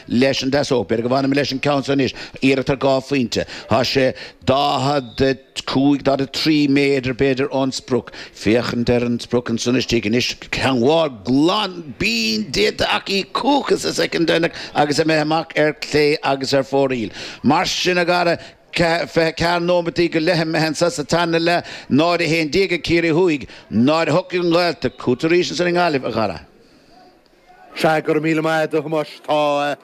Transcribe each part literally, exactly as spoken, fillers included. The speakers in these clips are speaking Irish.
leis an deasóg. B'fhéidir go bhfanfaidh mé leis an ceann seo anois. Iarracht ar dhá phointe. Tá sé daichead a cúig, daichead a trí méadar b'fhéidir ón sprioc. Féachaint ar an sprioc ansan istigh anois. Teagmháil glan binn déanta acu chucu sa soicind deireanach agus imithe amach ar chlé agus ar fóraoil. Mar sin, a Dhara, fiche ceathair nóimeataí go leith imithe anso sa tarna leath, náid a haon déag ag Ciarraí Thuaidh, náid a hocht ag an nGaeltacht. Chugat arís ansan i nGaillimh, a Dhara. Sea, go raibh míle maith agat, a Thomáis. Tá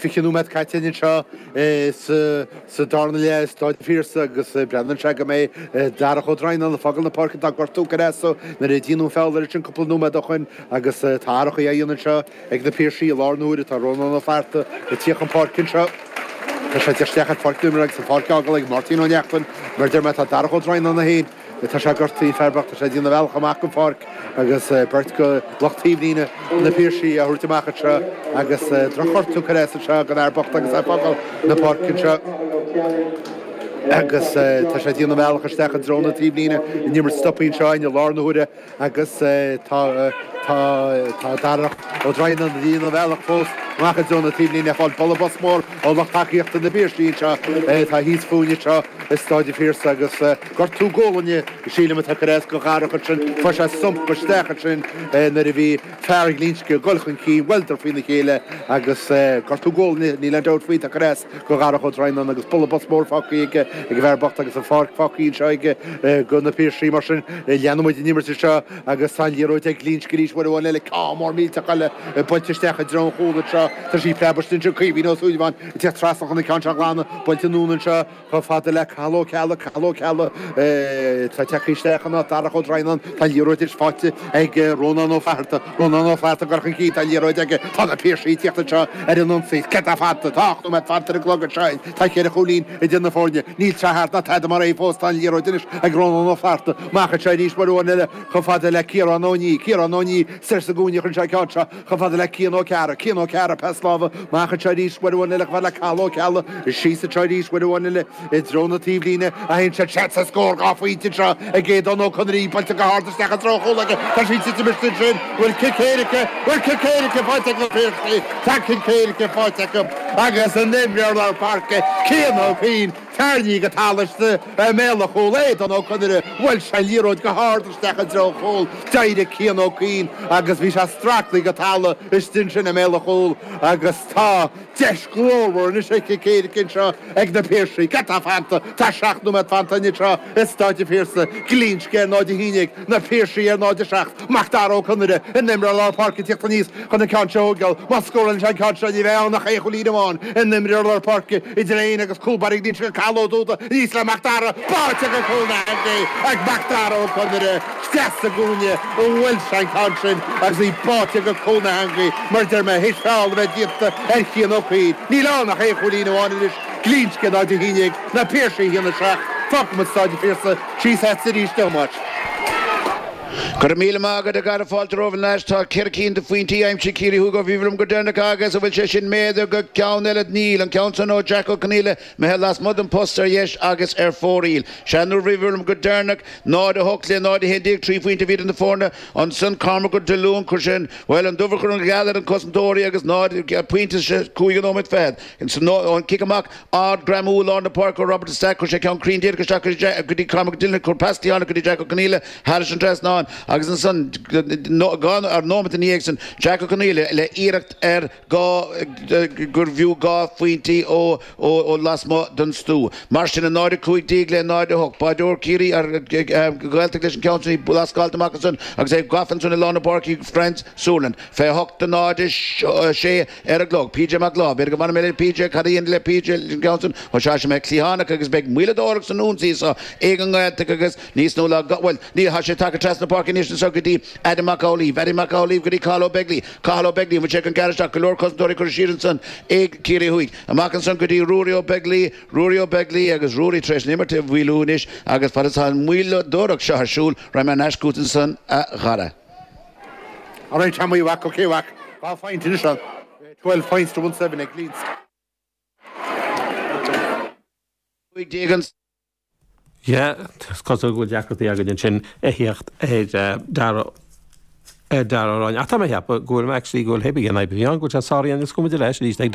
fiche nóiméad caite anseo sa darna leath i Stáid an Phiarsaigh agus breathnaíonn sé go mbeidh Darach Ó Droighneáin ag fágáil na páirce. Tá gortú curtha as dó nuair a déanadh an feall air ansin cúpla nóiméad ó shoin agus tá athrachaí á dhéanamh anseo ag na Piarsaigh i láthair na huaire. Tá Rónán Ó Flatharta ag tíocht chun páirce anseo. Tá sé ag tíocht isteach ar pháirc na himeartha agus an pháirc á fhágáil ag Máirtín Ó Neachtain. Mar a deir mé, tá Darach Ó Droighneáin é féin. Tá sé gortaithe, fear bocht, tá sé ag déanamh a bhealach amach den pháirc agus beirt de lucht taobhlíne na Piarsaigh á thabhairt amach anseo agus drochghortú curtha as anseo don fhear bocht agus é ag fágáil na páirce anseo agus tá sé ag déanamh a bhealach isteach i dtreo na taobhlíne an imirt stoptha anseo i lár na huaire agus tá tá tá Darach Ó Droighneáin ag déanamh a bhealach fós amach i dtreo na taobhlíne ag fáil bualadh bos mór ó lucht tacaíochta na bPiarsaigh anseo atá thíos fúinn anseo i Stáid an Phiarsaigh agus gortú gualainne sílim atá curtha as do Dharach ansin. Fuair sé stump isteach ansin nuair a bhí fear Ghlinsce ag dul chun cinn, bhuaileadar faoina chéile agus gortú gualainne, níl aon dabht faoi, atá curtha as do Dharach Ó Droighneáin agus bualadh bos mór fágtha aige ag an bhfear bocht agus an pháirc fágtha anseo aige do na Piarsaigh. Mar sin, leanfaidh muid an imirt anseo agus tá an liathróid ag Glinsce arís uair amháin eile, ceann mór millteach eile buailte isteach i dtreo an chúil anseo. Tá sí preabtha istigh ansin, Caoimhín Ó Súilleabháin ag teacht trasna chun an ceann seo a ghlanadh, buailte anonn anseo. Chomh fada le Cathal Ó Ceallaigh, Cathal Ó Ceallaigh, tá tagtha isteach in áit Darach Ó Droighneáin, tá an liathróid anois faighte ag Rónán Ó Flatharta, Rónán Ó Flatharta ag dul chun cinn, tá an liathróid aige, tá na Piarsaigh ag tíocht anseo ar an ionsaí, céard atá fanta, tá ocht nóiméad fanta ar an gclog anseo, tá ceithre chúilín idir na foirne, níl tráth thart ná tada mar é fós, tá an liathróid anois ag Rónán Ó Flatharta, amach anseo arís uair amháin eile chomh fada le Ciarán Ó Nia, Ciarán Ó Nia soir sa gcúinne chuireann sé an ceann seo chomh fada le Cian Ó Cearra, Cian Ó Cearra, pas láimhe, amach anseo arís uair amháin eile chomh fada le Cathal Ó Ceallaigh, síos anseo arís uair amháin eile i dtreo na taobhlíne a théann sé, seans ar scór dhá phointe anseo ag Aodán Ó Conaire, í buailte go hard isteach i dtreo an chúil aige, tá sí ag titim istigh ansin, bhfuil cic éirice, bhfuil cic éirice faighte ag na Piarsaigh, tá cic éirice faighte acu agus an t-imreoir lár páirce Cian Ó Cuinn tarraingthe go talamh istigh i mbéal an chúil, Aodán Ó Conaire, bhuail sé an liathróid go hard isteach i dtreo an chúil, d'éirigh Cian Ó Cuinn agus bhí sé stractha go talamh istigh ansin i mbéal an chúil agus tá deis ghlórmhar anois ar chic éirice anseo ag na Piarsaigh. Cad tá fanta? Tá seacht nóiméad fanta anseo i Stáid an Phiarsaigh. Glinsce ar náid a haon déag, na Piarsaigh ar náid a seacht. Mac Dara Ó Conaire, an t-imreoir lár páirce ag tíocht aníos chun an ceann seo a thógáil. Má scórálann sé an ceann seo ní bheidh ann ach aon chúilín amháin. An t-imreoir lár páirce idir é féin agus cúl báire Ghlinsce Cathal Ó Dúda aníos le Mac Dara. Báite go cúl na heangaí ag Mac Dara Ó Conaire. Isteach sa gcúinne a bhuail sé an ceann sin agus í báite go cúl na heangaí mar a deir mé théis feall a bheith déanta ar Chian Ó Cuinn. Níl ann ach aon chúilín amháin anois, Glinsce náid a haon déag, Na Piarsaigh a haon a seacht. Fágfaidh muid Stáid an Phiarsaigh síos agatsa arís a Thomáis. Go raibh míle maith agat a Dhara, fáilte romhat thar n-ais. Tá ceithre cinn de phointí aimsithe Ciarraí Thuaidh ó bhí liom go deireanach agus an bhfuil sé sin méadaithe go ceann eile? Níl. An ceann san ó Jack Ó Conaola imithe lasmuigh den post ar dheis agus ar fóraoil. Sea, nuair a bhí liom go deireanach, náid a hocht le náid a haon déag, trí phointe a bhí idir na foirne. Ansan Cormac Ó Diolúin, chuir sé an, bhuel, an dubh a chur an gheal ar an cosantóirí agus náid pointe sa cúig nóiméad fichead. Ón cic amach ard greamú i lár na páirce ó Robert de Staic, chuir sé ceann cruinn díreach isteach go dtí Cormac Ó Diolúin, chuir pas cliatháin go dtí Jack Ó Conaola thairis an trasnán agus ansan dhá nóiméad ina dhiaidh san Jack Ó Conaola le iarracht ar dhá gurbh fhiú dhá phointí ó ó lasmuigh den stua. Mar sin, a náid a cúig déag le náid a hocht. Báideoir Ciarraí ar Ghaeltacht leis an ceann sin í lascáilte amach ansan agus é gafa ansan i lár na páirce ag Franz Suerland. Fiche a hocht do náid a sé ar an gclog. PJ Mac Láimh. B'fhéidir go bhfanfaidh mé le PJ. Cad a dhéanfaidh le PJ leis an gceann sin? Ó sea, sé mé cliathánach agus beidh moilleadóireacht san ionsaí so ag an nGaeltacht agus níos nó ná bhuel, ní, tá sé tagtha trasna na páirce anois anso go dtí Adam Mac Amhlaoibh. Adam Mac Amhlaoibh go dtí Cathal Ó Beaglaoi. Cathal Ó Beaglaoi, an bhfuil sé chun gearradh isteach? Go leor cosantóirí curtha siar ansan ag Ciarraí Thuaidh. Amach ansan go dtí Ruairí Ó Beaglaoi, Ruairí Ó Beaglaoi agus Ruairí tar éis an imirt a mhoilliú anois agus fad is atá an mhoilleadóireacht seo ar siúl, raghaidh mé thar n-ais chugat ansan a Dhara. Alright Tommy, a mhac, ok a mhac. Dhá phointe anois ann. Twelve points to one seven ag Glinsce. Cúig déag an. Yeah, is cosúil go bhfuil deacrachtaí againn ansin a theacht ar Dara Dara Ó Ach tá mé cheapadh go bhfuil actually go bhfuil héibe an I P an go sáraíonn is cuma leis arís ag